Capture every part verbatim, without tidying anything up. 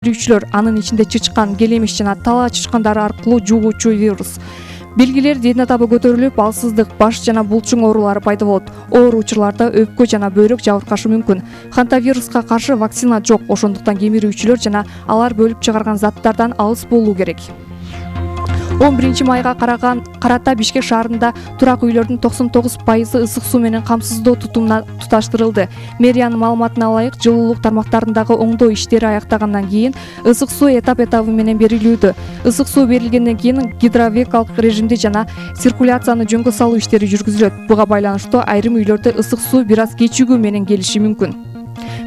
Жүрүүчүлөр, анын ичинде чычкан, келемиш жана талаа чычкандары аркылуу жугуучу вирус. Белгилер ден атабы көтөрүлүп, алсыздык, баш жана булчуң оорулары пайда болот. Оор учурларда өпкө жана бөйрөк жабыркашы мүмкүн. Хантавируска каршы вакцина жок, ошондуктан кемирүүчүлөр жана алар бөлүп чыгарган заттардан алыс болуу керек. он биринчи майга караган карата Бишкек шаарында турак үйлөрдүн токсон тогуз пайызы ысык суу менен камсыздоо тутумуна туташтырылды. Мэриянын маалыматына ылайык, жылуулук тармактарындагы оңдоо иштери аяктагандан кийин ысык суу этап-этабы менен берилүүдө. Ысык суу берилгенден кийин гидровекалык режимди жана циркуляцияны жөнгө салуу иштери жүргүзүлөт. Буга байланыштуу айрым үйлөрдө ысык суу бир аз кечигүү менен келиши мүмкүн.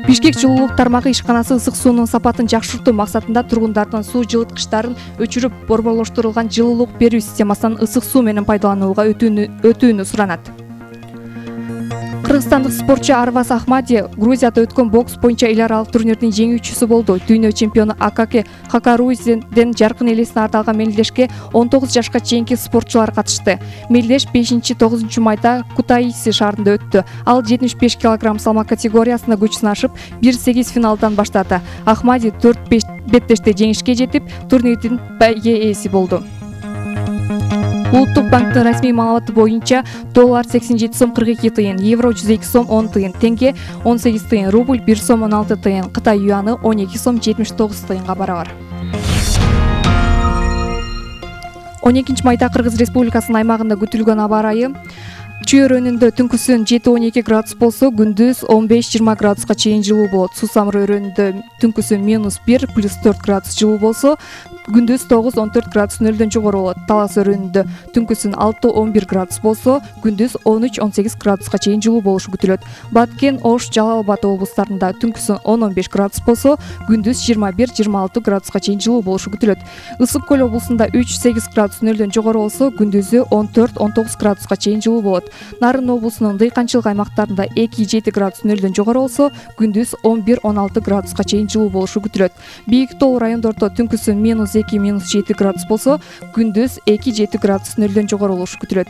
Бишкек жылуулук тармагы ишканасы ысык суунун сапатын жакшыртуу максатында тургундардын суу жылыткычтарын өчүрүп, борборлоштурулган жылуулук берүү системасынан ысык суу менен пайдаланууга өтүүнү суранат. Кыргызстандык спортчу Арваз Ахмади Грузияда өткөн бокс боюнча эл аралык турнирдин жеңүүчүсү болду. Дүйнө чемпиону Акаке Хакарузден жаркын элесине ардалган мелдешке он тогуз жашка чейинки спортчулар катышты. Мелдеш бешинчи тогузунчу майда Кутаиси шаарында өттү. Ал жетимиш беш килограмм салмак категориясында күч сынашып, бир сегиз финалдан баштады. Ахмади төрт беш беттеште жеңишке жетип, турнирдин ээси болду. Улуттук банктын расмий маалыматы боюнча доллар сексен жети сом кырк эки тыйын, евро жүз эки сом он тыйын, теңге он сегиз тыйын, рубль бир сом он алты тыйын, Кытай юаны он эки сом жетимиш тогуз тыйынга барабар. он экинчи майда Кыргыз Республикасынын аймагында күтүлгөн аба ырайы Чүй-өрөөнүндө түнкүсүн жети он эки градус болсо, күндүз он беш жыйырма градуска чейин жылуу болот. Суу-Самыр өрөөнүндө түнкүсүн минус бир плюс төрт градус жылуу болсо, күндүз тогуз он төрт градус нөлдөн жогору болот. Талас өрөөнүндө түнкүсүн алты он бир градус болсо, күндүз он үч он сегиз градуска чейин жылуу болушу күтүлөт. Баткен, Ош, Жалал Абад облустарында түнкүсүн он он беш градус болсо, күндүз жыйырма бир жыйырма алты градуска чейин жылуу болушу күтүлөт. Ысык көл облусунда үч сегиз градус нөлдөн жогору болсо, күндүзү он төрт он тогуз градуска чейин жылуу болот. Нарын облусунун дыйканчылык аймактарында эки жети градус нөлдөн жогору болсо, күндүз он бир он алты градуска чейин жылуу болушу күтүлөт. Бийик тоо райондордо түнкүсүн минус эки минус жети градус болсо, күндүз эки жети градус нөлдөн жогору болушу күтүлөт.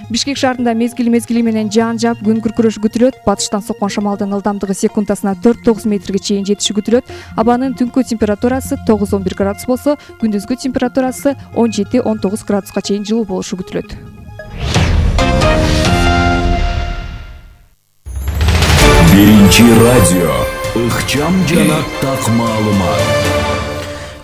Бишкек шаарында мезгил мезгили менен жаан жаап, күн күркүрөшү күтүлөт. Батыштан соккон шамалдын ылдамдыгы секундасына төрт тогуз метрге чейин жетиши күтүлөт. Абанын түнкү температурасы тогуз он бир градус болсо, күндүзгү температурасы он жети он тогуз градуска чейин жылуу болушу күтүлөт. Биринчи радио ыкчам жана так маалымат.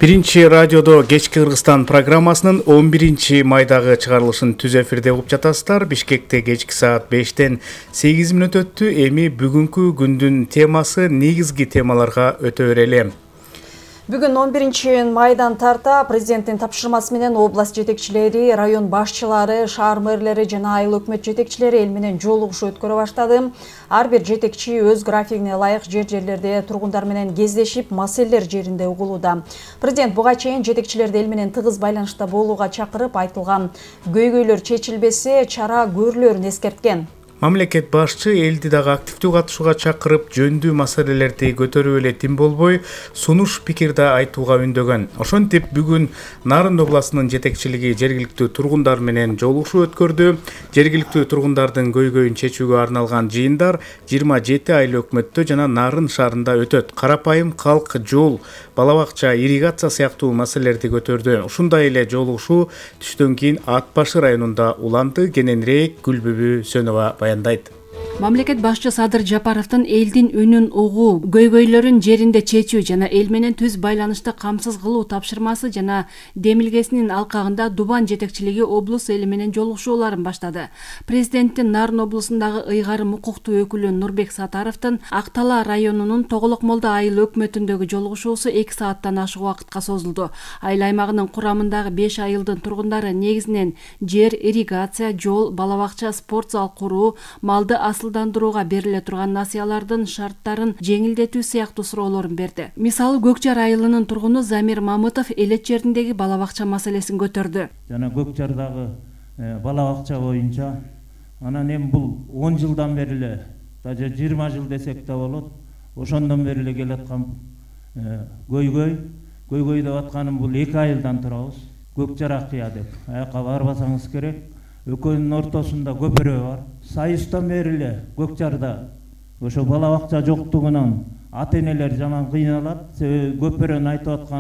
Биринчи радиодо кечки Кыргызстан программасынын он биринчи майдагы чыгарылышын түз эфирде угуп жатасыздар. Бишкекте кечки саат бештен сегиз мүнөт өттү. Эми бүгүнкү күндүн темасы негизги темаларга өтө берели. Бүгүн он биринчи майдан тарта президенттин тапшырмасы менен область жетекчилери, район башчылары, шаар мэрлери жана айыл өкмөт жетекчилери эл менен жолугушуу өткөрө баштады. Ар бир жетекчи өз графигине ылайык жер-жерлерде тургундар менен кездешип, маселелер жеринде угулууда. Президент буга чейин жетекчилерди эл менен тыгыз байланышта болууга чакырып, айтылган көйгөйлөр чечилбесе, чара көрүлөрүн эскерткен. Мамлекет башчы элди дагы активдүү катышууга чакырып, жөндүү маселелерди көтөрүп эле тим болбой, сунуш пикирди айтууга үндөгөн. Ошентип бүгүн Нарын областынын жетекчилиги жергиликтүү тургундар менен жолугушуу өткөрдү. Жергиликтүү тургундардын көйгөйүн чечүүгө арналган жыйындар жыйырма жети айыл өкмөттө жана Нарын шаарында өтөт. Карапайым калк, жол, бала бакча, ирригация сыяктуу маселелерди көтөрдү. Ушундай эле жолугушуу түштөн кийин Ат башы районунда уланды. Кененирээк Гүлбүбү Сөнова баяндайт. Мамлекет башчы Садыр Жапаровдун элдин үнүн угуу, көйгөйлөрүн жеринде чечүү жана эл менен түз байланышты камсыз кылуу тапшырмасы жана демилгесинин алкагында Дубан жетекчилиги облус эли менен жолугушууларын баштады. Президенттин Нарын облусундагы ыйгарым укуктуу өкүлү Нурбек Сатаровдун Ак Талаа районунун Тоголок Молда айыл өкмөтүндөгү жолугушуусу эки сааттан ашык убакытка созулду. Айыл аймагынын курамындагы беш айылдын тургундары негизинен жер, ирригация, жол, бала бакча, спорт зал куруу, малды асылдандырууга бериле турган насыялардын шарттарын жеңилдетүү сыяктуу суроолорун берди. Мисалы, Көкжар айылынын тургуну Замир Мамытов элет жериндеги бала бакча маселесин көтөрдү. Жана Көкжардагы бала бакча боюнча анан эми бул он жылдан бери эле, даже жыйырма жыл десек да болот, ошондон бери эле келаткан көйгөй, көйгөй деп атканым бул эки айылдан турабыз. Көкжар акыя деп, аяка барбасаңыз керек. Экөөнүн ортосунда көпүрө бар. Сайыстан бери эле Көкжарда ошо бала бакча жоктугунан ата энелер жаман кыйналат. Себеби көпөрөнүн айтып аткан